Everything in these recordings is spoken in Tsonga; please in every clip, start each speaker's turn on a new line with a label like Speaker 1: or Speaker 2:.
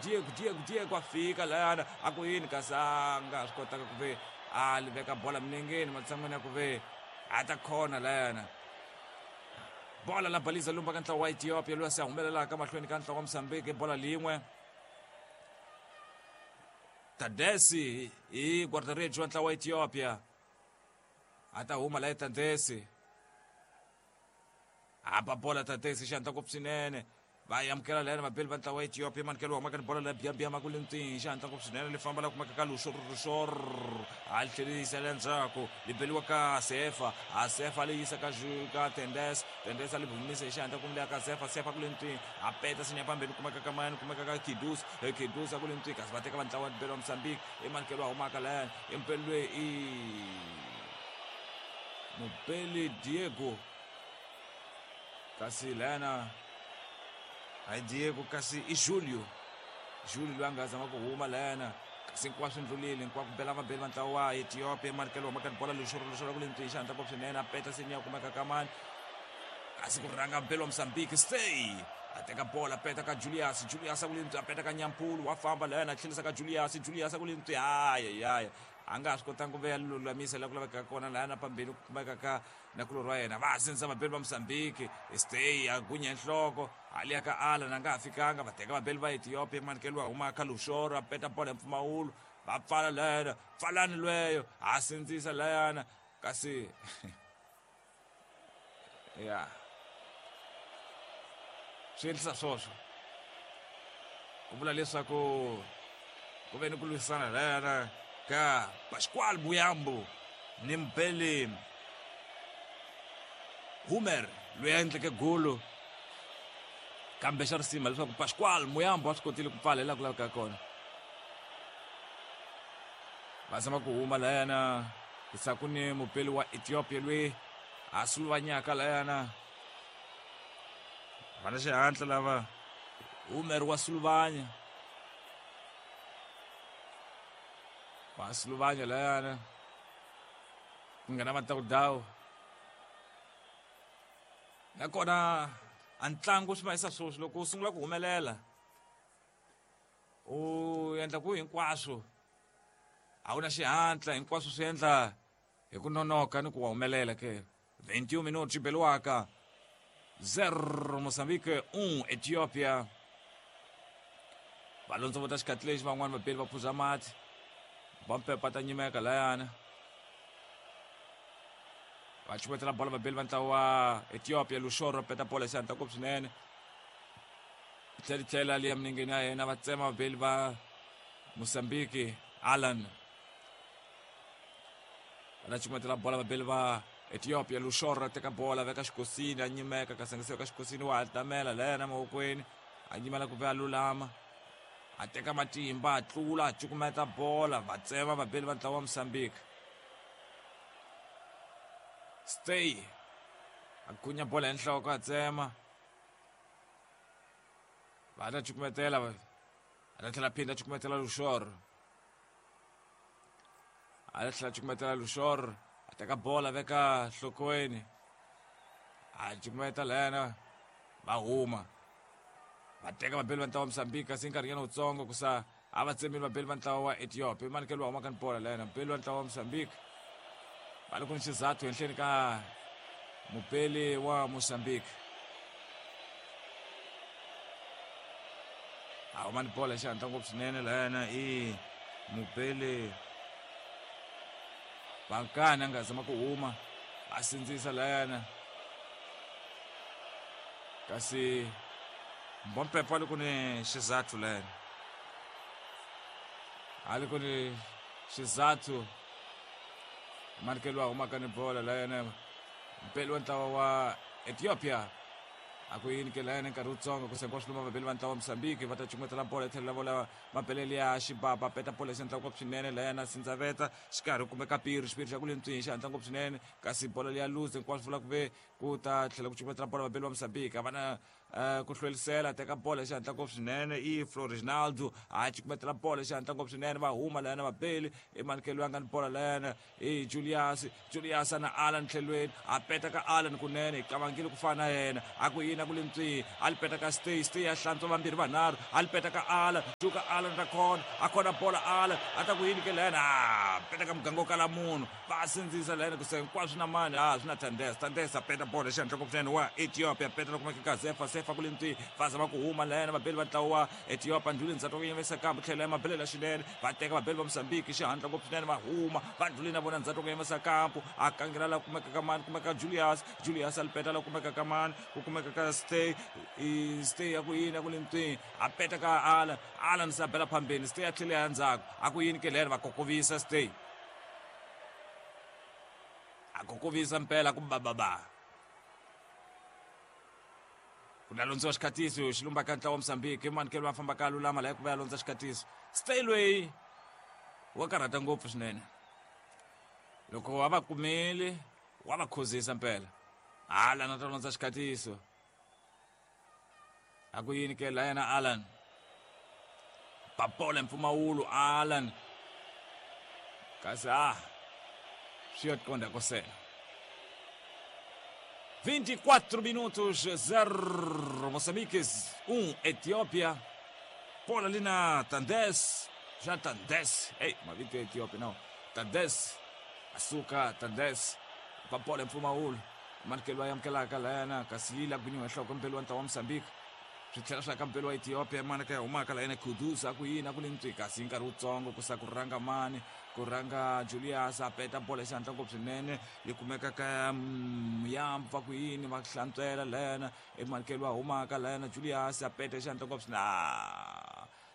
Speaker 1: Diego Diego Diego a fika layana a ku yini kasi a nga swi kotaka ku ve a li veka bola milengeni matshan'wini ya ku ve a ta khona layana. Bola la baliza lumba ka ntlawa wa Ethiopia loyi se a humelelaka mahlweni ka ntlawa wa Mozambique bola lin'we. Tadesi hi guarda-redes wa ntlawa wa Ethiopia a ta huma la Tadesi a ba bola Tadesi xi hatla ngopfu swinene va amukela layani vabeli va ntlawa wa Ethiopia manikelo wa humaka ni bola la biya ma ku le ntini xi hatla ngopfu swinene li famba la kumeka ka luxor luxor a li tlherisela le ndzhaku li beliwa ka Sefa a Sefa li yisa ka ka Tendes Tendes a li humisa hi xihatla kumbe ka Sefa Sefa ku le ntini a peta sinya pambeni kumeka ka mani kumeka ka Kidus Kidus a ku le ntini kasi va teka va ntlawa wa belo wa Mozambique i manikelo wa humaka layani i mupeli loyi i mupeli Diego kasi layana hayi Diego kasi i Julio Julio loyi a nga zama ku huma layana kasi hinkwaswo ndlulile hinkwako bela vabeli va ntlawa wa Ethiopia manikelo wa maka bola lexoro lexoro ku le ntwini xi hatla ngopfu swinene a peta seni ya kumeka ka mani kasi ku rhanga belo wa Mozambique stay a teka bola peta ka Julius Julius a ku le ntwi a peta ka Nyampulu wa famba layana a tlhelisa ka Julius Julius a ku le ntwi hayi hayi a nga ha swi kotanga ku veya lulamisa laha ku lavekaka kona lahaya na pambeni ku kumeka ka nakulorhi wa yena va sindzisa vabeli va Mozambique stay a gunya nhloko hali ya ka Alan a nga ha fikanga va teka vabeli va Ethiopia manikelo wa huma ka Luxoro a peta bola hi mpfumawulo va pfala layana pfalani lweyo a sindzisa layana kasi ya swi endlisa swoswo ku vula leswaku ku ve ni ku lwisana layana ka Pascual Buyambu ni Mbele Humer loyi a endleke golo kambe xa risima leswaku Pascual Muyambo a swi kotile ku pfala hi laha ku lavekaka kona va zama ku huma layana ku ni mupeli wa Ethiopia loyi a suluvanyaka layana va na xihatla lava Humer wa suluvanya va suluvanya layana ku nghena matawudawu nakona a ntlangu swi mahisa swoswi loko u sungula ku humelela u endla ku hinkwaswo a wu na xihatla hinkwaswo swi endla hi ku nonoka ni ku wa humelela ke 21 minutos xi beliwaka 0 Mozambique 1 Ethiopia va londzovota xikhathi lexi van'wani vapeli va phuza mati va ta nyimeka layana va chumetela bola vabeli va ntlawa wa Ethiopia Luxoro peta bola xi hatla ngopfu swinene tlhela tlhela liya minengeni ya yena va tsema vabeli va Mozambique Alan va ta chumetela bola vabeli va Ethiopia Luxoro teka bola veka xikosini a nyimeka kasi a nga se veka xikosini wa hatamela layana mavokweni a nyimela ku ve a lulama a teka matimba a tlula a cukumeta bola va tsema vabeli va ntlawa wa Mozambique stay a gunya bola hi nhloko a tsema va ta cukumetela a ta tlhela phinda a cukumetela Luxoro a ta tlhela cukumetela Luxoro a teka bola veka nhlokweni a cukumeta layana va huma va teka vabeli va ntlawa wa Mozambique kasi nkarhinyana wutsongo ku sa a va tsemile vabeli va ntlawa wa Ethiopia manikelo wa humaka ni bola layana mubeli wa ntlawa wa Mozambique va le ku ni xizathu henhleni ka mubeli wa Mozambique a huma ni bola xihatla ngopfu swinene layana i mubeli Bankani a nga zama ku huma a sindzisa layana kasi Mbompepo a li ku ni xizathu layana a li ku ni xizathu manikelo wa humaka ni bola layana mpeli wa ntlawa wa Ethiopia a ku yini ke layana nkarhi wutsongo ku sengiwa swiluma vabeli va ntlawa wa Mozambique va ta cukumetela bola etlhelo la vola mabelele ya xibaba peta bola xi hatla ngopfu swinene layana sindzaveta xikarhi kumeka piri xipiri xa ku le ntswini xi hatla ngopfu swinene kasi bola leya luze hinkwaswo vula ku ve ku ta tlhela ku cukumetela bola vabeli va Mozambique a va na Ku hlwelisela teka bolo hi xihatla ngopfu swinene i Florinaldo a cukumetela bolo hi xihatla ngopfu swinene va huma layana vabeli i manikelo ya nga ni bolo layana i Julius Julius na Alan tlhelweni a peta ka Alan kunene hi qavangile ku fana na yena a ku yini a ku le ntswihi a li peta ka Stay Stay a hlantswa vambirhi vanharhu a li peta ka Alan juka Alan ta khona a khona bolo Alan a ta ku yini ke layana a peta ka muganga wo kala munhu va sindzisa layana ku se hinkwaswo na mani a swi na Tandesa Tandesa peta bolo hi xihatla ngopfu swinene wa Ethiopia peta la kumeka ka Zefa Sefa ku le ntswihi va zama ku huma layana vabeli va ntlawa wa Ethiopia ndlhuleni ndzhaku ka yimisa kambe tlhela ya mabelela swinene va teka vabeli va Mozambique xihatla ngopfu swinene va huma va ndlhuleni na vona ndzhaku ka yimisa kampo a kangela la kumeka ka mani kumeka Julius Julius a lipeta la kumeka ka mani ku kumeka ka Stay i Stay ya ku yini ya ku le ntswihi a peta ka Alan Alan se a bela phambeni Stay a tlhela ya ndzhaku a ku yini ke lero va kokovisa Stay a kokovisa mpela ku bababa ku la londziwa xikhatiso xilumba ka ntlawa wa Mozambique i mani ke loyi a fambaka a lulama laha ku va ya londza xikhatiso Stay loyi wa karhata ngopfu swinene loko wa va kumile wa va khuzisa mpela Alan a ta londza xikhatiso a ku yini ke la yena Alan papola mpfumawulo Alan kasi a swi yo qonda kosela 24 minutos 0 Moçambique 1 Etiópia bola ali na Tandes já Tandes ei mavito ya Etiópia não Tandes asuka Tandes papola mpfumawulo manikelo ya amukelaka layana kasi yi la gwinyiwa nhloko mpelo wa ntlawa wa Mozambique swi tlhela swi aka mpelo wa Ethiopia mana ka ya humaka layana Kudus a ku yini a ku le ntswi kasi hi nkarhi wutsongo ku sa ku rhanga mani ku rhanga Julius a peta bolo hi xihatla ngopfu swinene yi kumeka ka Muyambu va ku yini va hlantswela layana emanikelo wa humaka layana Julius a peta hi xihatla ngopfu swinene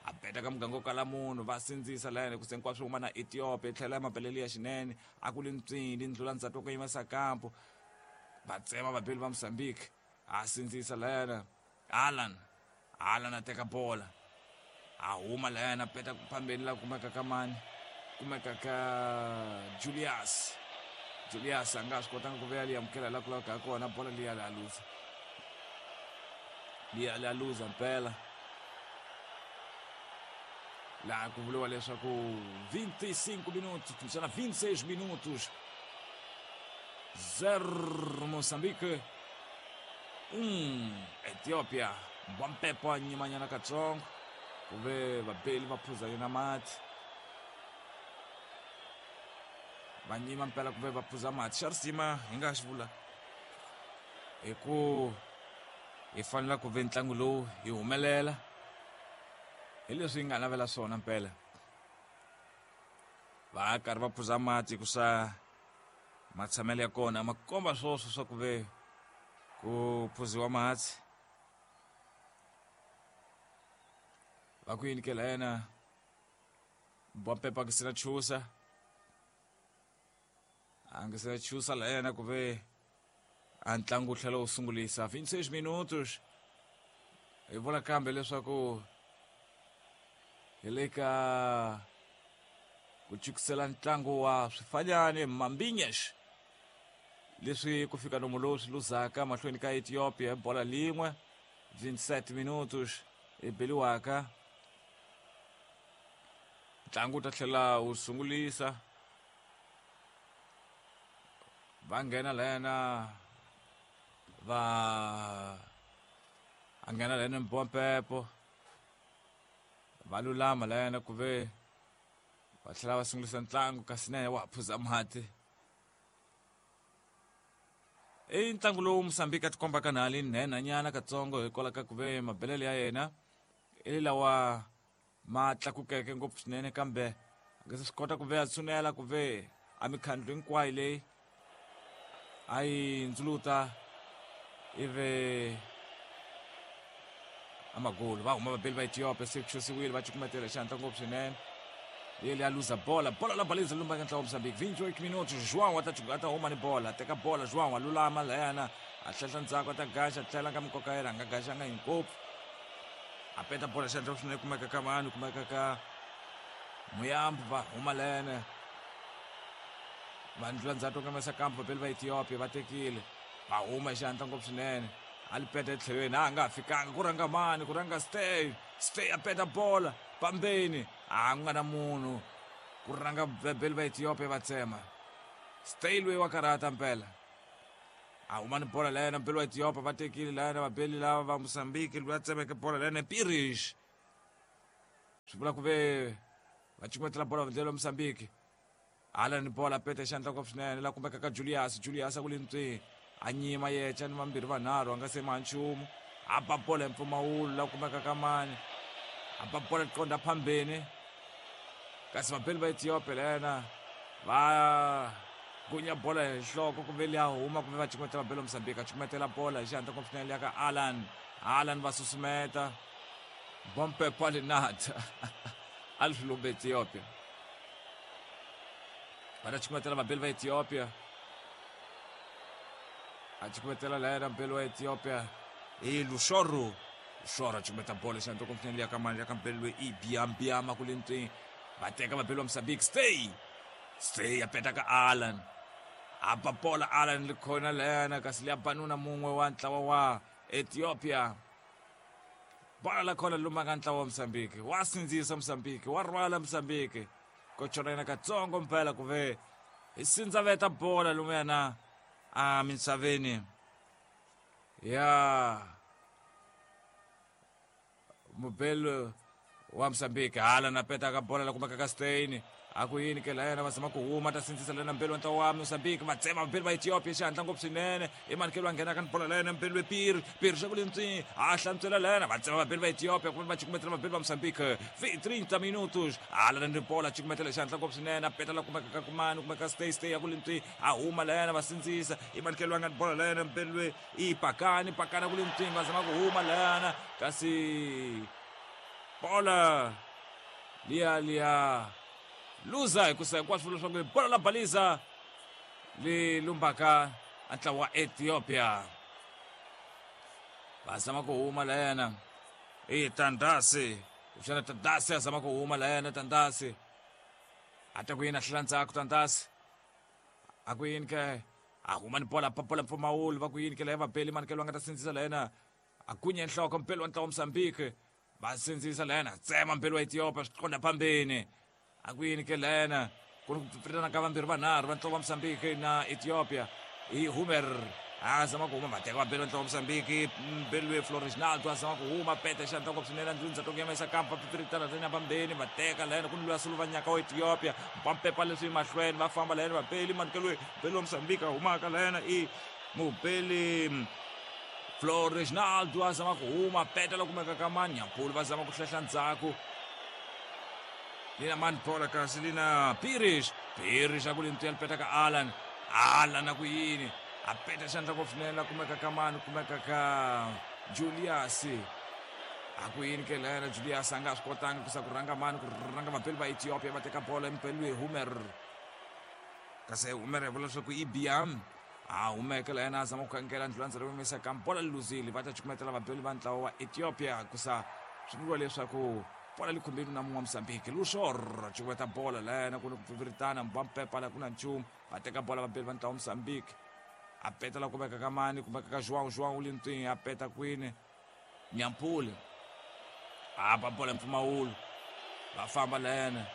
Speaker 1: a peta ka muganga wo kala munhu va sindzisa layana ku se hinkwaswo huma na Ethiopia yi tlhela ya mabelelo ya xinene a ku le ntswini ndlula ndzhaku wa ku yimisa kampo va tsema vabeli va Mozambique a sindzisa layana Alan Alan a teka bola a huma layana peta phambeni la kumeka ka mani kumeka ka Julius Julius a nga swi kotanga ku vuya liya amukela la ku laveka kona bola liya la luza liya la luza mpela laha ku vuriwa leswaku 25 minutos kumbexana 26 minutos 0 Moçambique 1 Ethiopia Mbwampepo a nyimanyana katsongo ku ve vabeli va phuza yena mati va nyima mpela ku ve va phuza mati xa risima hi nga xi vula hi ku hi fanela ku ve ntlangu lowu hi humelela hi leswi hi nga navela swona mpela va karhi va phuza mati ku sa matshamelo ya kona ma komba swoswo swa ku ve ku phuziwa mati va ku yini ke la yena Mbwampepa a nge se na chusa a nge se na chusa la yena ku ve a ntlangu wu tlhela wu sungulisa 26 minutos hi vula kambe leswaku hi le ka ku chukisela ntlangu wa swifanyani Mambinyesh leswi ku fika nomu lowu swi luzaka mahlweni ka Ethiopia hi bola lin'we 27 minutos hi beliwaka ntlangu wu ta tlhela wu sungulisa va nghena layana va a nghena layana Mbompepo va lulama layana ku ve va tlhela va sungulisa ntlangu kasi na yena wa ha phuza mati i ntlangu lowu Mozambique a tikombaka na ali nhenhanyana katsongo hikwalaho ka ku ve mabelelo ya yena i lawa ma tlakukeke ngopfu swinene kambe a nge se swi kota ku ve a tshunela ku ve a mikhandlu hinkwayo leyi a yi ndzuluta ivi amagolo va huma vabeli va Ethiopia se ku xosiwile va cukumetela xihatla ngopfu swinene yele a luza bola bola la baliza lumba ka ntlawa wa Mozambique 28 minutos João a ta a ta huma ni bola teka bola João a lulama layana a hlehla ndzhaku a ta gaxa tlhela ka mikoka yena a nga gaxanga hi ngopfu a peta bola xihatla swinene kumeka ka vanhu kumeka ka Muyambu va huma layana va ndlula ndzhaku ka masa kampo vabeli va Ethiopia va tekile va huma hi xihatla ngopfu swinene. A li peta etlhelweni a nga ha fikanga ku rhanga mani ku rhanga Stay. Stay a peta bola pambeni a ku nga na munhu ku rhanga vabeli va Ethiopia va tsema. Stay loyi wa karhata mpela. A huma ni bola la yena mbeli wa Ethiopia va tekile la yena vabeli lava va Mozambique loyi a tsemeke bola la yena Pirish. Swi vula ku ve va cukumetela bola ndlela wa Mozambique. Hala ni bola pete xandla ngopfu swinene la kumeka ka Julius. Julius a ku le ntswi a nyima yecha ni vambirhi vanharhu a nga se ma nchumu. A ba bola hi mpfumawulo la kumeka ka mani. A ba bola qonda phambeni. Kasi vabeli va Ethiopia la yena va gunya bola hi nhloko kumbe liya huma kumbe va cukumetela vabeli va Mozambique. A cukumetela bola hi xihatla ngopfu swinene liya ka Alan. Alan va susumeta. Bompe Palinata. A li swi lumbe Ethiopia. Va ta cukumetela vabeli va Ethiopia. A cukumetela la yena mbeli wa Ethiopia i Lushoro. Lushoro a cukumeta bola xandla ngopfu swinene liya ka mani liya ka mbeli loyi i Biambiama ku le ntswini. Va teka vabeli va Mozambique. Stay. Stay a peta ka Alan. A ba bola Alan li khona la yena kasi liya banuna mun'we wa ntlawa wa Ethiopia. Bola la khona lumaka ntlawa wa Mozambique. Wa sindzisa Mozambique, wa rhwala Mozambique. Ko chona yena katsongo mpela ku ve hi sindzaveta bola lumuyana a misaveni ya mubelo wa Mozambique. Hala na peta ka bola la kumeka ka Stein. A ku yini ke la yena va zama ku huma ta sindzisa lena mbelo wa ntlawa wa Mozambique. Va tsema vabeli va Ethiopia xihatla ngopfu swinene. I mani ke loyi a nghenaka ni bola la yena mbelo Piri. Piri xa ku le ntswi a hlantswela la yena. Va tsema vabeli va Ethiopia kumbe va cukumetela vabeli va Mozambique. 30 minutos. Hala ni bola cukumetela xihatla ngopfu swinene. A peta la kumeka ka kumani kumeka Stay Stay ya ku le ntswi a huma la yena va sindzisa. I mani ke loyi a nga ni bola la yena mbelo i Pakani. Pakani ku le ntswi va zama ku huma la yena kasi bola liya liya luza hikusa hinkwaswo vula leswaku bola la baliza li lumbaka a ntlawa wa Ethiopia. Va zama ku huma la yena i Tandasi. Kuxana Tandasi a zama ku huma la yena Tandasi. A ta ku yini a hlela ndzhaku Tandasi. A ku yini ke a huma ni bola papola mpfumawulo va ku yini ke la ya vabeli mani ke loyi a nga ta sindzisa la yena a gunya nhloko mpelo wa ntlawa wa Mozambique. Va sindzisa la yena tsema mpelo wa Ethiopia swi qonda phambeni. A ku yini ke la yena ku ni ku pfipfilana ka vambirhi vanharhu va ntlawa wa Mozambique na Ethiopia. I Humer a zama ku huma va teka vabeli va ntlawa wa Mozambique. Mbeli Floresnaldo a zama ku huma peta xandla ngopfu swinene ndlundza to yimisa kampa pfipfiritana ta phambeni va teka la yena ku ni luya Suluvanyaka wa Ethiopia. Mpampepa leswi mahlweni va famba la yena vabeli mani ke loyi mbeli wa Mozambique a humaka la yena i mubeli Floresnaldo a zama ku huma peta la kumeka ka Manyampulu va zama ku hlehla ndzhaku. Lina mani bola kasi lina Pirish. Pirish a ku le ntuyela peta ka Alan. Alan a ku yini a peta xandla ngopfu swinene la kumeka ka mani kumeka ka Julius. A ku yini ke la yena Julius a nga swi kotanga ku sa ku rhanga mani ku rhanga vabeli va Ethiopia va teka bola empelweni Humer. Kasi Humer ya vula leswaku i Biam. A humeke la yena a zama ku kangela ndlulandza leyi yimisa ka bola li luzile va ta cukumetela vabeli va ntlawa wa Ethiopia kusa swi vuriwa leswaku bola li khumbile na mun'we wa Mozambique. Lushor cukumeta bola la yena ku ni ku pfipfiritana mbampepa la ku na nchumu va teka bola vabeli va ntlawa wa Mozambique. A peta la kumeka ka mani kumeka ka João. João u le ntswini a peta kwini Nyampule a ba bola mpfumawulo va famba la yena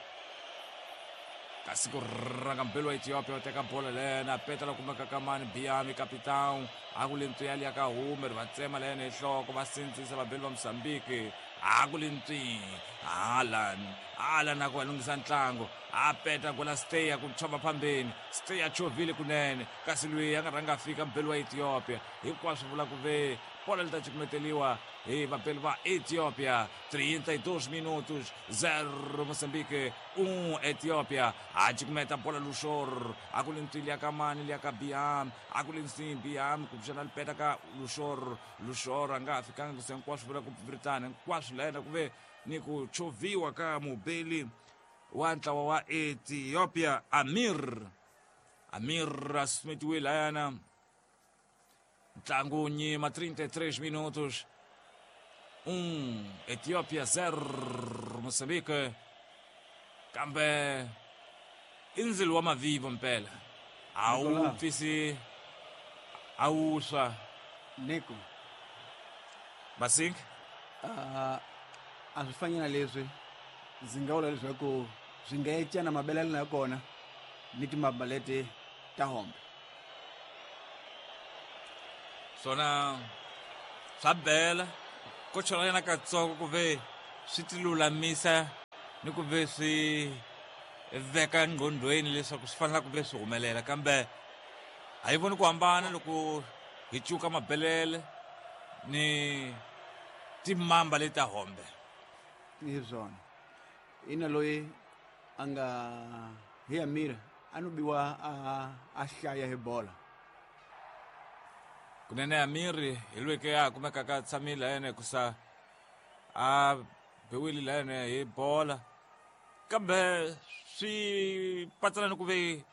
Speaker 1: kasi ku rhanga mbelo wa Ethiopia u teka bola la yena a peta la kumeka ka mani Biami capitão a ku le ntswi ya liya ka Humer va tsema la yena hi nhloko va sindzisa vabeli va Mozambique a ku le ntswi Alan Alan a ku va lunghisa ntlangu a peta gola Stay a ku chova phambeni Stay a chovile kunene kasi loyi a nga rhanga a fika mbeli wa Ethiopia hinkwaswo vula ku ve bola li ta cukumeteliwa hi vabeli va Ethiopia. 32 minutos 0 Mozambique 1 Ethiopia. A cukumeta bola Lushor a ku le ntswi liya ka mani liya ka Biam a ku le ntswi Biam ku pfuxana lipeta ka Lushor. Lushor a nga ha fikanga ku se hinkwaswo vula ku pfipfiritana hinkwaswo la yena ku ve ni ku choviwa ka mubeli wa ntlawa wa Ethiopia Amir. Amir a susumetiwe layana ntlangu nyima 33 minutos 1 Ethiopia 0 Mozambique. Kambe i ndzilo wa mavivo mpela a wu pfisi a wu swa
Speaker 2: Nico.
Speaker 1: Masing?
Speaker 2: A swi fani na leswi ndzi nga vula leswaku swi nga ecana mabelelo ya kona ni timamba leti ta hombe.
Speaker 1: Swona swa bela ko chola yena katsongo ku ve swi ti lulamisa ni ku ve swi veka nqondweni leswaku swi fanele ku ve swi humelela, kambe a yi voni ku hambana loko hi cuka mabelele ni timamba leti ta hombe.
Speaker 2: Hi swona, ina loyi a nga hi Amira a no biwa a hlaya hi bola.
Speaker 1: Kunene Amiri hi loyi ke a kumekaka a tshamile yena hikusa a biwile la yena hi bola, kambe swi patsana ni ku ve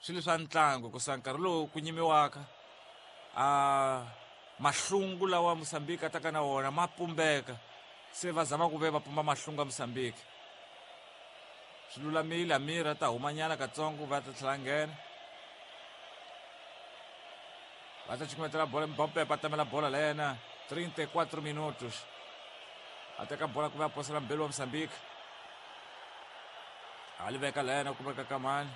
Speaker 1: swilo swa ntlangu hikusa nkarhi lowu ku nyimiwaka a mahlungu lawa Mozambique a taka na wona ma pumbeka, se va zama ku ve va pumba mahlungu ya Mozambique. Swi lulamile, Amir a ta humanyana katsongo va ta tlhela nghena, va ta cukumetela bola Mbappe a tamela bola la yena 34 minutos a teka bola ku va posela mbelu wa Mozambique, a li veka la yena kumeka ka mani,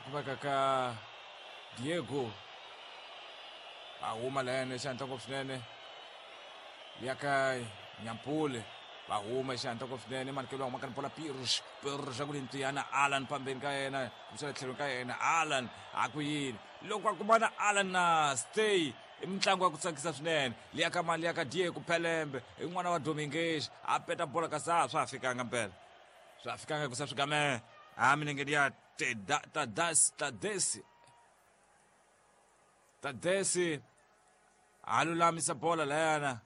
Speaker 1: kumeka ka Diego, a huma la yena xihatla ngopfu swinene ya ka Nyampule, va huma xihatla ngopfu swinene manikelo wa humaka ni bola Pirus, Pirus a ku lintiyana Alan pambeni ka yena kumisela tlhelweni ka yena Alan a ku yini loko a kumana Alan na Stay i mitlangu ya ku tsakisa swinene liya ka mali ya ka Diego Pelembe i n'wana wa Dominguez a peta bola kasi a swa ha fikanga mpela, swa ha fikanga hikusa swi game a milengeni ya Tadesi Tadesi a lulamisa bola layana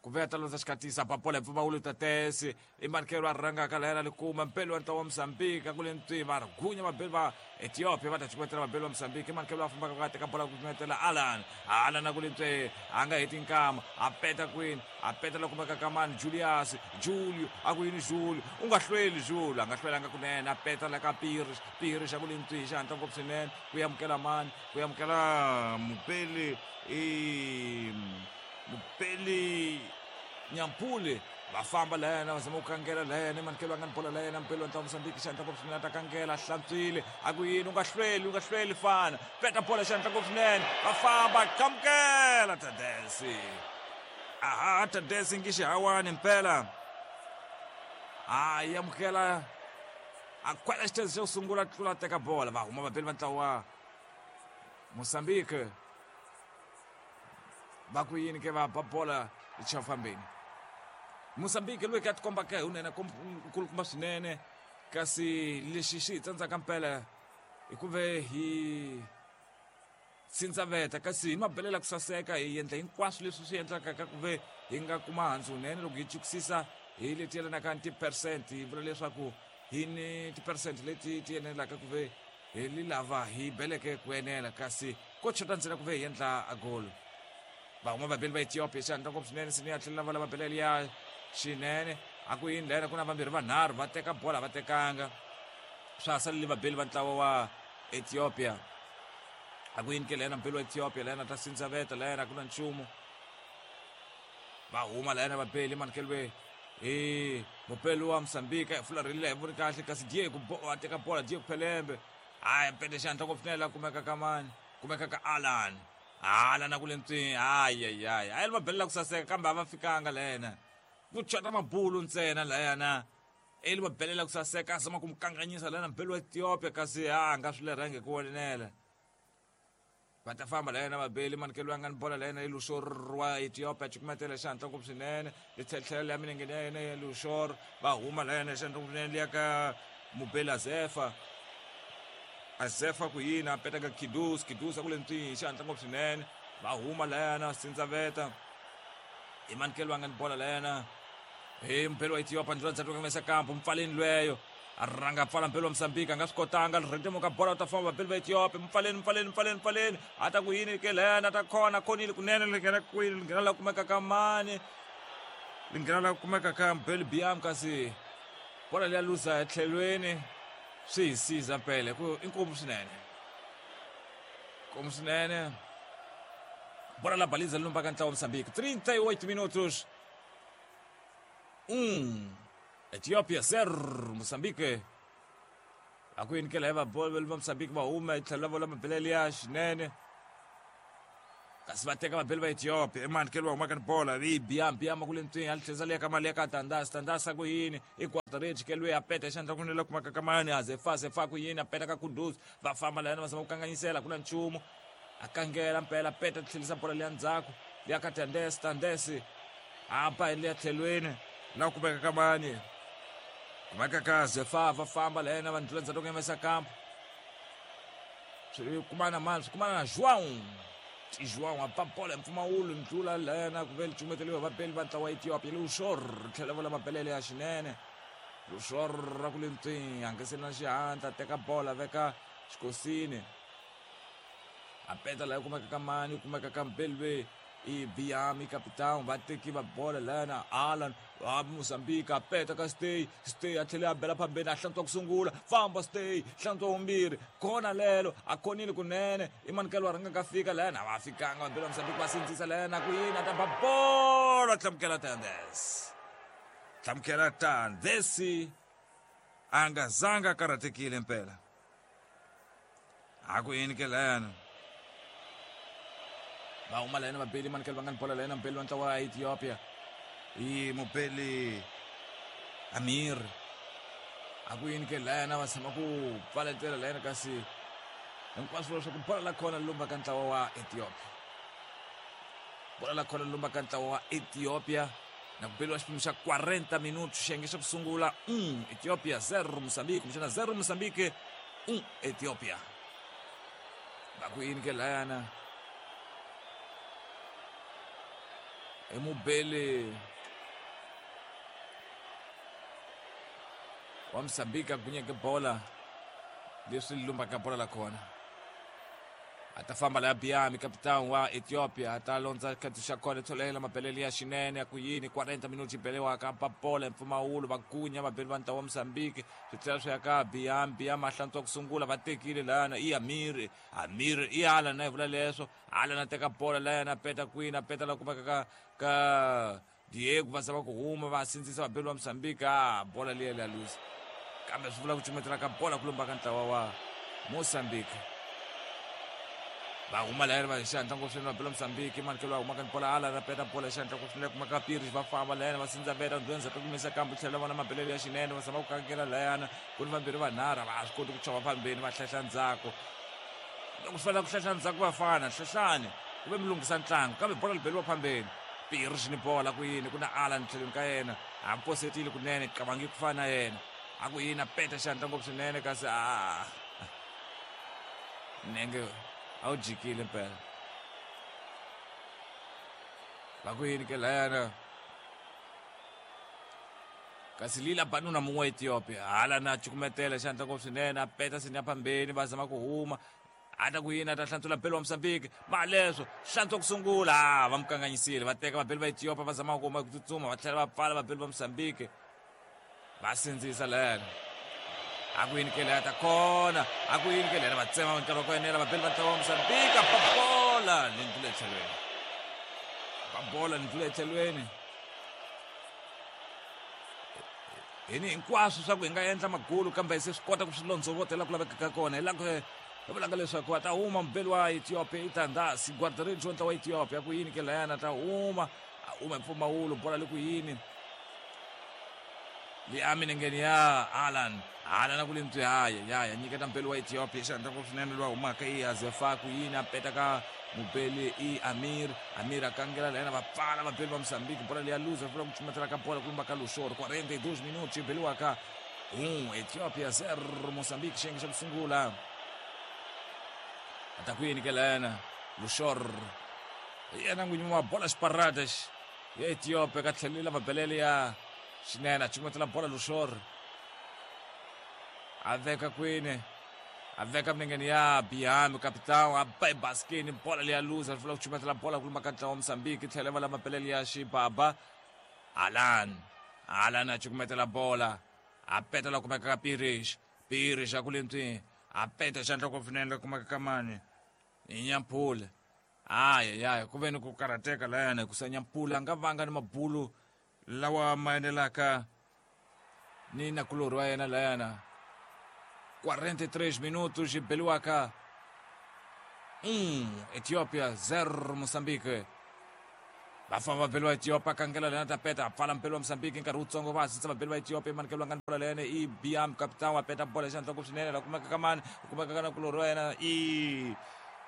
Speaker 1: ku ve a ta landza xikatisa ba bola hi mpfumawulo Tadesi i manikelo a rhangaka layana likuma mpelo wa ntlawa wa Mozambique a ku le ntwi va gunya vabeli va Ethiopia va ta cukumetela vabeli va Mozambique i manikelo a fambaka ku a teka bola ku cukumetela Alan, Alan a ku le ntwi a nga heti nkama a peta kwini a peta la kumeka ka mani Julius, Julio a ku yini Julio u nga hlweli Julio a nga hlwelanga kunene a peta la ka Pires, Pires a ku le ntwi xihatla ngopfu swinene ku amukela mani ku amukela mupeli i mupeli Nyampule va famba la yena va zama ku kangela la yena manikelo a nga ni bola la yena mpelo wa ntlawa Mozambique xihatla ngopfu swinene a ta kangela hlantswile a ku yini u nga hlweli u nga hlweli fana peta bola xihatla ngopfu swinene va famba qhamukela Tadesi aha Tadesi ngi xihawani mpela a yamukela a khwela xithezi xo sungula tlula teka bola va huma vabeli va ntlawa wa Mozambique va ku yini ke va ba bola echafambeni Mozambique loyi ka tikombaka hi unene nkulukumba swinene kasi lexi xi hi tsandzaka mpela hi ku ve hi sindzaveta kasi hi mabelela ku saseka hi endla hinkwaswo leswi swi endlaka ka ku ve hi nga kuma handzu wunene loko hi chukisisa hi leti yelanaka ni ti-percent hi vula leswaku hi ni ti-percent leti ti enelaka ku ve hi li lava hi beleke ku enela kasi ko chota ntsena ku ve hi endla a goal. Va huma vabeli va Ethiopia xandla ngopfu swinene sini ya tlhela va lava belele ya xinene a ku yini lena ku na vambirhi vanharhu va teka bola va tekanga swa ha salele vabeli va ntlawa wa Ethiopia a ku yini ke lena mbeli wa Ethiopia lena ta sindzaveta lena ku na nchumu va huma lena vabeli manikeliwe hi mupeli wa Mozambique a fularhelile hi voni kahle kasi Diego a teka bola Diego Pelembe hayi pete xandla ngopfu swinene la kumeka ka mani kumeka ka Alan Alan a ku le ntswini hayi hayi hayi a yi va belela ku saseka kambe a va fikanga lena ku chota mabulu ntsena layana eli va belela ku saseka a zama ku mu kanganyisa lana mbeli wa Ethiopia kasi a nga swi lerhangi ku vonela va ta famba la yena vabeli manikelo ya nga ni bola la yena Lushor wa Ethiopia cukumetela xihatla ngopfu swinene litlhetlhela ya milengeni ya yena ya Lushor va huma la yena xihatla ngopfu swinene liya ka mubeli Azefa Azefa ku yini a peta ka Kidus Kidus a ku le ntswini xihatla ngopfu swinene va huma la yena Sindzaveta i manikelo ya nga ni bola la yena hi mubeli wa Ethiopia ndlela ndzhaku ka mesa kampo mpfaleni lweyo a rhanga pfala mpelo wa Mozambique a nga swi kotanga rhentemuka bola u ta famba vabeli va Ethiopia mpfaleni mpfaleni mpfaleni mpfaleni a ta ku yini ke lena ta khona khonile kunene li nghena kwini li nghena la kumeka ka mani li nghena la kumeka ka Mbeli Biam kasi bola liya luza etlhelweni swi hi siza mpela ku i nkomu swinene nkomu swinene. Bola la baliza lumba ka ntlawa Moçambique. 38 minutos. 1 Ethiopia 0 Moçambique. Akuyinikela hi vabolo va Moçambique va huma hi tlhelo la mabelele ya xinene. Kasi va teka vabeli va Ethiopia emanikelo va humaka ni bola i biam biam ku le ntswini a tlheza le ka mali ya ka Tandas Tandas ku yini i quarter kelwe a peta xandla ku nela kumaka ka mani a zefa zefa ku yini a peta ka Kudus va famba la yena va zama ku kanganyisela ku na nchumu a kangela mpela peta tlhelisa bola liya ndzhaku liya ka Tandes Tandes a ba hi liya tlhelweni la kumeka ka mani kumeka ka zefa va famba la yena va ndlula ndzhaku ka kampo swi kumana mani swi kumana na João João a ba bola mpfumawulo ndlula lena ku ve licumeteliwa vabeli va ntlawa Ethiopia Lushor tlhela vola mabelele ya xinene Lushor ra ku le ntswini hangeseli na xihatla teka bola veka xikosini a peta laha kumeka ka mani kumeka ka mbeli i Biami capitão va teki va bola lena Alan wa Mozambique a peta ka Stay Stay a tlhela a bela phambeni a hlantswa ku sungula famba Stay hlantswa vumbirhi khona lelo a khonile kunene i manikelo wa rhanga ka fika lena va fikanga vabeli va Mozambique va sindzisa lena ku yini a ta ba bola hlamukela Tandes hlamukela Tandes a nga zanga a karhatekile mpela a ku yini ke lena va huma la yena vabeli manikelo va nga ni bola la yena mubeli wa ntlawa wa Ethiopia i mubeli Amir a ku yini ke la yena va tshama ku pfaletela la yena kasi hinkwaswo leswaku bola la khona lumba ka ntlawa wa Ethiopia bola la khona lumba ka ntlawa wa Ethiopia na ku beliwa xiphemu xa 40 minutos xiyenge xa ku sungula 1 Ethiopia 0 Mozambique kumbexana 0 Mozambique 1 Ethiopia va ku yini ke layana i mubeli wa Mozambique a gunyeke bola leswi lumbaka bola la kona a ta famba laya Biami capitão wa Ethiopia a ta londza khathi xa kona tsholela mabelele ya xinene ya ku yini 40 minutos beliwaka ba bola mpfumawulo va gunya vabeli va ntlawa wa Mozambique swi tlhela swi ya ka Biami Biami a hlantswa ku sungula va tekile lana i Amir Amir i Alan na hi vula leswo Alan a teka bola layana a peta kwini a peta la kumeka ka ka Diego va zama ku huma va sindzisa vabeli va Mozambique a bola liya liya luza kambe swi vula ku cumetela ka bola ku lumba ka ntlawa wa Mozambique va huma layani va xihatla ngopfu swinene vabeli va Mozambique manikelo va huma ka bola Alan a peta bola xihatla ngopfu swinene kuma ka Pires va famba layani va sindza veta ndlwenza ka kumisa kambe tlhela vona mabelelo ya xinene va zama ku kangela layana ku ni vambirhi vanharhu va swi koti ku chova phambeni va hlahla ndzhaku loko swi fanele ku hlahla ndzhaku vafana hlahlani ku ve mi lunghisa ntlangu kambe bola li beliwa phambeni Pires ni bola ku yini ku na Alan tlhelweni ka yena a posetile kunene qabangi ku fana na yena a ku yini a peta xandla ngopfu swinene kasi a nenge a wu jikile mpela va ku yini ke layana kasi lila banuna mun'we wa Ethiopia hala na cukumetela xandla ngopfu swinene a peta sinya phambeni va zama ku huma a ta ku yini a ta hlantswela beli wa Mozambique ma leswo hlantswa ku sungula va mu kanganyisile va teka vabeli va Ethiopia va zama ku huma ku tsutsuma va tlhela va pfala vabeli va Mozambique va sindzisa lena a ku yini ke leya ta kona a ku yini ke lena va tsema nkarhi wa ku enela vabeli va ntlawa wa Mozambique ba bola ni ndlula etlhelweni ba bola ni ndlula etlhelweni hini hinkwaswo swa ku hi nga endla magulu kambe se swi kota ku swi londzovotela ku laveka ka kona hi laha ku hi vulaka leswaku a ta huma mubeli wa Ethiopia i Tandasi guardaredi wa ntlawa wa Ethiopia ku yini ke layana ta huma a huma hi mpfumawulo bola le ku yini liya minengeni ya Alan Alan a ku le ntswi haya ya ya nyiketa mubeli wa Ethiopia xandla ngopfu swinene loyi a humaka i Azefa ku yini a peta ka mubeli i Amir Amir a kangela layana va pfala vabeli va Mozambique bola liya luza vula ku cumetela ka bola ku lumba ka Lushor 42 minutos yi beliwaka 1 Ethiopia 0 Mozambique xiyenge xa ku sungula a ta ku yini ke layana Lushor hi yena n'winyi wa bola xiparadas ya Ethiopia ka tlhelela mabelele ya xinene a cumetela bola Lushor a veka kwini a veka minengeni ya Biami capitão a ba ebaskeni bola leya luza ri vula ku cumetela bola ku lumba ka ntlawa wa Mozambique tlhela va la mabelele ya xibaba Alan Alan a cukumetela bola a peta la kumeka ka Pires Pires a ku le ntswini a peta xandla ku finene la kumeka ka mani i Nyampula. Ayayaya, ku ve ni ku karhateka layana hikusa Nyampula a nga vanga ni mabulu lawa ma enelaka ni nakulorhi wa yena layana. 43 minutos beliwaka 1 Ethiopia 0 Mozambique. Va famba vabeli va Ethiopia kangela lena ta peta pfala mpelo wa Mozambique nkarhi wutsongo va hasisa vabeli va Ethiopia manikelo va nga ni bola leyana i Biam capitão wa peta bola xandla ku swinene la kumeka ka mani ku kumeka ka nakulorhi wa yena i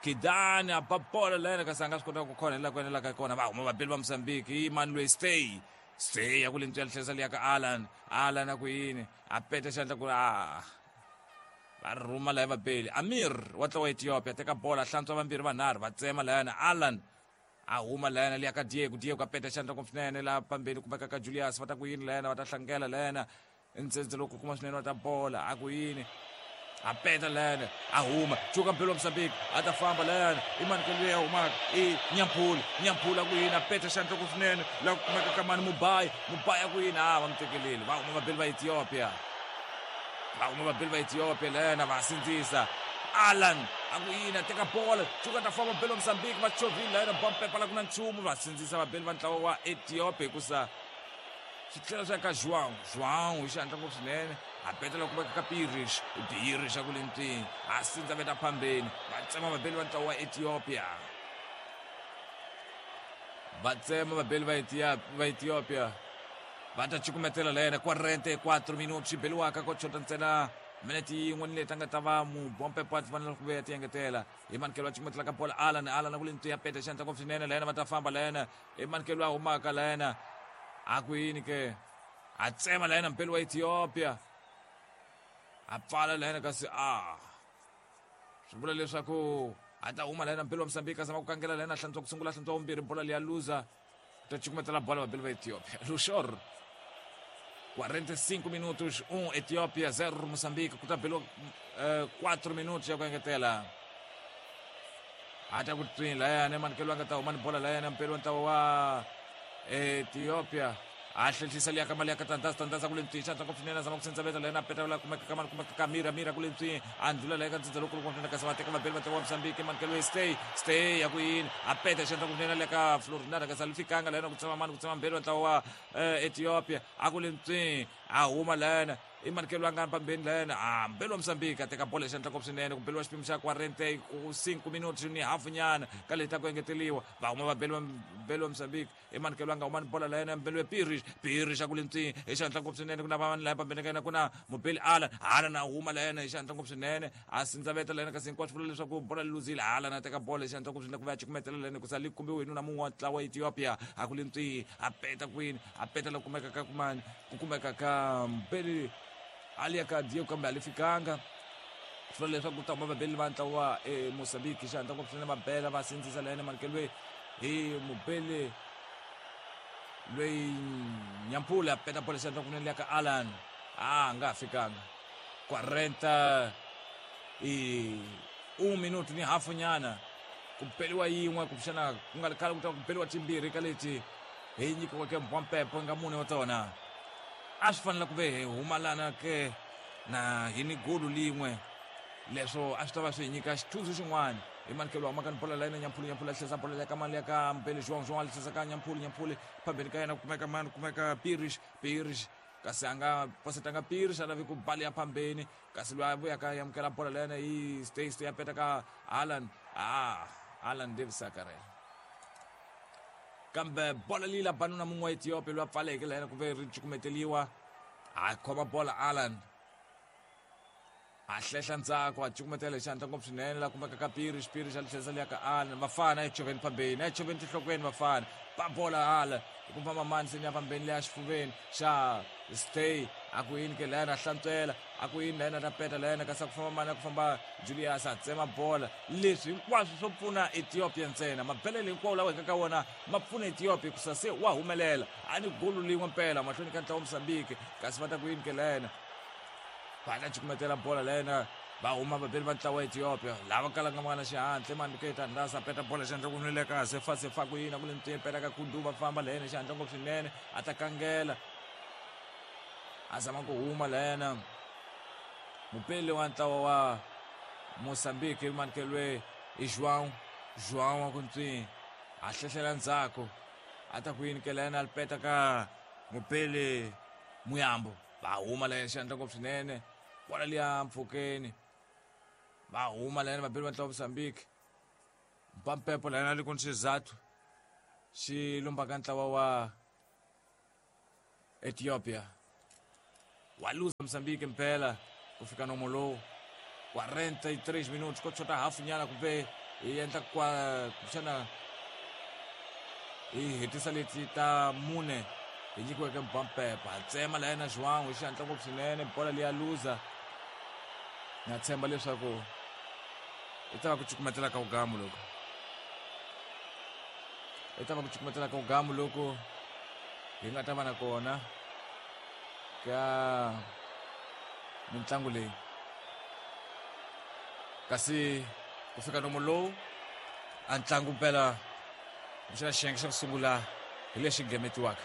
Speaker 1: Kidani a ba bola leyana kasi a nga swi kota ku khona hi laha ku enelaka kona. Va huma vabeli va Mozambique i mani loyi stay stay ya ku le ntswela tlherisa liya ka Alan. Alan a ku yini a peta xandla ku a va rhuma laya vabeli. Amir wa tlawa Ethiopia teka bola hlantswa vambirhi vanharhu va tsema layana. Alan a huma layana liya ka Diego. Diego a peta xandla ku swinene laha pambeni kumeka ka Julius. Va ta ku yini layana va ta hlangela layana ntsendze loko kuma swinene wa ta bola a ku yini a peta layana a huma cuka mpelo wa Mozambique a ta famba layana i mani ke loyi a humaka i Nyampula. Nyampula a ku yini a peta xandla ku swinene laha ku kumeka ka mani Mubayi. Mubayi a ku yini a va mu tekeleli. Va huma vabeli va Ethiopia, va huma vabeli va Ethiopia layana va sindzisa Alan a ku yini a teka bola cuka ta famba vabeli va Mozambique va chovhile layana bompepa la ku na nchumu va sindzisa vabeli va ntlawa wa Ethiopia hikusa swi tlhela swi ya ka João. João hi xihatla ngopfu swinene a petela ku veka ka Pires. Pires a ku le ntwini a sindza veta phambeni va tsema vabeli va ntlawa wa Ethiopia. Va tsema vabeli va Ethiopia va ta cukumetela la yena 44 minutos xi beliwaka ko chota ntsena minete yin'we ni leti a nga ta va mubompepo a fanele ku vuya ti engetela hi manikelo va cukumetela ka bola Alan. Alan a ku le ntwini ya peta xihatla ngopfu swinene la yena va ta famba la yena hi manikelo a humaka la yena a ku yini ke a tsema la yena mpeli wa Ethiopia a pfala la yena kasi a swi vula leswaku a ta huma la yena mpeli wa Mozambique a zama ku kangela la yena hlantswa ku sungula hlantswa vumbirhi bola liya luza ta cukumetela bola vabeli va Ethiopia. Luxor 45 minutos 1 Ethiopia 0 Mozambique ku ta beliwa 4 minutos ya ku engetela. A ta ku twini layani manikelo a nga ta huma ni bola layani mpeli wa ntlawa wa Ethiopia a hlehlisa liya ka mali ya ka Tandaza. Tandaza ku le ntswini xandla ngopfu swinene a zama ku sendzaveta layani a peta la kumeka ka mani kumeka ka Mira. Mira ku le ntswini a ndlula laya ka ndzindza lowukulu ngopfu kasi va teka vabeli va ntlawa wa Mozambique manikelo stay stay ya ku yini a peta xandla ngopfu swinene le ka Florinada kasi a li fikanga layani ku tsema mani ku tsema mbeli wa ntlawa wa Ethiopia a ku le ntswini a huma layani i manikelo a nga pambeni layani a mbeli wa Mozambique a teka bola xandla ngopfu swinene ku beliwa xiphemu xa 45 minutos ni hafu nyana ka leti ta ku engeteliwa. Va huma vabeli va mbeli wa Mozambique i manikelo a nga huma ni bola layani mbeli wa Pirish. Pirish a ku le ntswini hi xihatla ngopfu swinene ku na vanhu laya pambeni ka yena ku na mubeli Alan. Alan a huma layani hi xihatla ngopfu swinene a sindzaveta layani kasi hinkwaswo vula leswaku bola li luzile. Alan a teka bola hi xihatla ngopfu swinene ku va ya cukumetela layani hikusa li kumbiwe hi nuna mun'we wa ntlawa wa Ethiopia a ku le ntswini a peta kwini a peta la kumeka ka kumani ku kumeka ka mbeli ali ya ka Diego kambe a li fikanga. Swi vula leswaku ku ta huma vabeli va ntlawa wa Mozambique xihatla ngopfu swinene va bela va sindzisa layani manikelo hi mubeli loyi Nyampula peta bola xihatla kunene liya ka Alan a nga ha fikanga. 41 minuto ni hafu nyana ku beliwa yin'we kumbexana ku nga ri khale ku ta ku beliwa timbirhi ka leti hi nyikiweke mbwampepo nga mune wa tona. A swi fanele ku ve hi humalana ke na hi ni golu lin'we leswo a swi ta va swi hi nyika xithunzi xin'wana. Hi manikelo humaka ni bola la yena Nyampulu. Nyampulu a tlherisa bola ya ka mali ya ka Mbele João. João a tlherisa ka Nyampulu. Nyampulu phambeni ka yena ku kumeka mani ku kumeka Pirish. Pirish kasi a nga posetanga Pirish a lavi ku bali ya phambeni kasi loyi a vuyaka ya amukela bola la yena hi stay stay a peta ka Alan. Alan Davis a karhele kambe bola leyi la banuna mun'we wa Ethiopia loyi a pfaleke la yena ku ve ri cukumeteliwa a khoma bola Alan a hlehla ndzhaku a cukumetela hi xihatla ngopfu swinene la kumeka ka Pirish. Pirish a li tlherisa liya ka Alan. Vafana a yi choveni phambeni a yi choveni tinhlokweni vafana ba bola Alan hi ku famba mani seni ya phambeni leya xifuveni xa stay a ku yini ke layana a hlantswela a ku yini layana ta peta layana kasi a ku famba mani a ku famba Julius a tsema bola. Leswi hinkwaswo swo pfuna Ethiopia ntsena mabelele hinkwawo lawa hi nga ka wona ma pfuna Ethiopia hikusa se wa humelela a ni golu lin'we mpela mahlweni ka ntlawa wa Mozambique kasi va ta ku yini ke layana va ta cukumetela bola layena va huma vabeli va ntlawa wa Ethiopia lava kalaka va nga na xihatla mani ke Tandasa peta bola xihatla ku nwile kahle fa se fa ku yini a ku le ntswini peta ka Kudu va famba layena xihatla ngopfu swinene a ta kangela a zama ku huma layena mupeli wa ntlawa wa Mozambique manikelwe hi João. João wa ku ntswi a hlehlela ndzhaku a ta ku yini ke layena a peta ka mupele Muyambo va huma layena xandla ngopfu swinene bola liya mpfhukeni va huma layena vabeli va ntlawa Mozambique mpampepo layena li ku ni xizathu xi lombaka ntlawa wa Ethiopia wa luza Mozambique mpela ku fika nomo lowu 43 minutos ko chota hafu nyana kumbe hi endla kwa kumbexana hi hetisa leti ta mune hi nyikiweke mpampepa tsema la yena João hi xihatla ngopfu swinene bola leya luza na tshemba leswaku i ta va ku cukumetela ka ugamu loko i ta va ku cukumetela ka ugamu loko hi nga ta va na kona ka mitlangu leyi kasi ku fika nomo lowu a ntlangu mpela kumbexana xiyenge xa ku sungula hi lexi gemetiwaka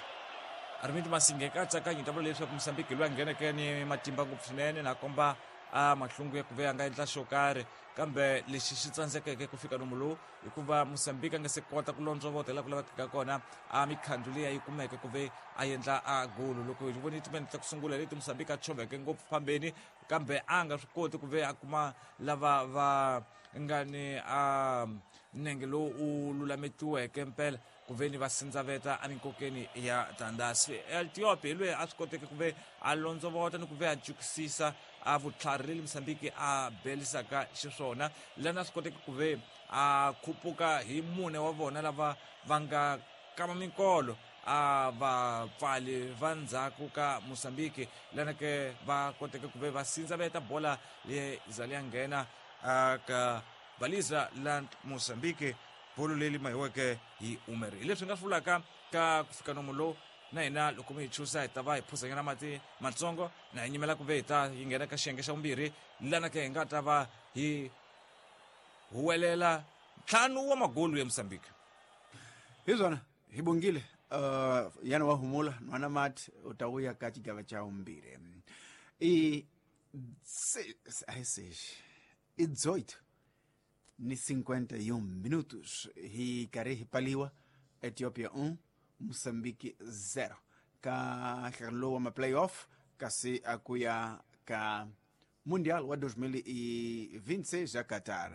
Speaker 1: Armind Masinge katsakanyi ta vula leswaku Mozambique loyi a ngheneke ni matimba ngopfu swinene na komba a mahlungu ya ku ve a nga endla xo karhi kambe lexi xi tsandzekeke ku fika nomu lowu hikuva Mozambique a nga se kota ku londzovota laha ku lavekaka kona a mikhandlu leyi a yi kumeke ku ve a endla a golo loko hi vone timinete ta ku sungula leti Mozambique a choveke ngopfu phambeni kambe a nga swi koti ku ve a kuma lava va nga ni a nenge lowu u lulametiweke mpela ku ve ni va sindzaveta eminkokeni ya tandasi Ethiopia hi loyi a swi koteke ku ve a londzovota ni ku ve a jukisisa a vutlhari leli Mozambique a belisaka xiswona lana swi koteke ku ve a khupuka hi mune wa vona lava va nga kama minkolo a vapfali va ndzhaku ka Mozambique lana ke va koteke ku ve va sindzaveta bola leyi za leya nghena ka baliza la Mozambique bolo leri mahiweke hi Umeri hi leswi nga swi vulaka ka ku fika nomo lowu na hina loko mi hi chusa hi ta va hi phuzanyana mati matsongo na hi nyimela ku ve hi ta yi nghena ka xiyenge xa vumbirhi lana ke hi nga ta va hi huwelela ntlhanu wa magolu ya Mozambique
Speaker 2: hi swona hi bongile yana wa humula nwana mati u ta vuya ka xigava xa vumbirhi i a hi sexi i 18 ni 51 minutos hi karhi hi paliwa Ethiopia 1 Mozambique 0 ka nhlangano lowu wa ma-playoff kasi a ku ya ka Mundial wa 2026 ya Qatar.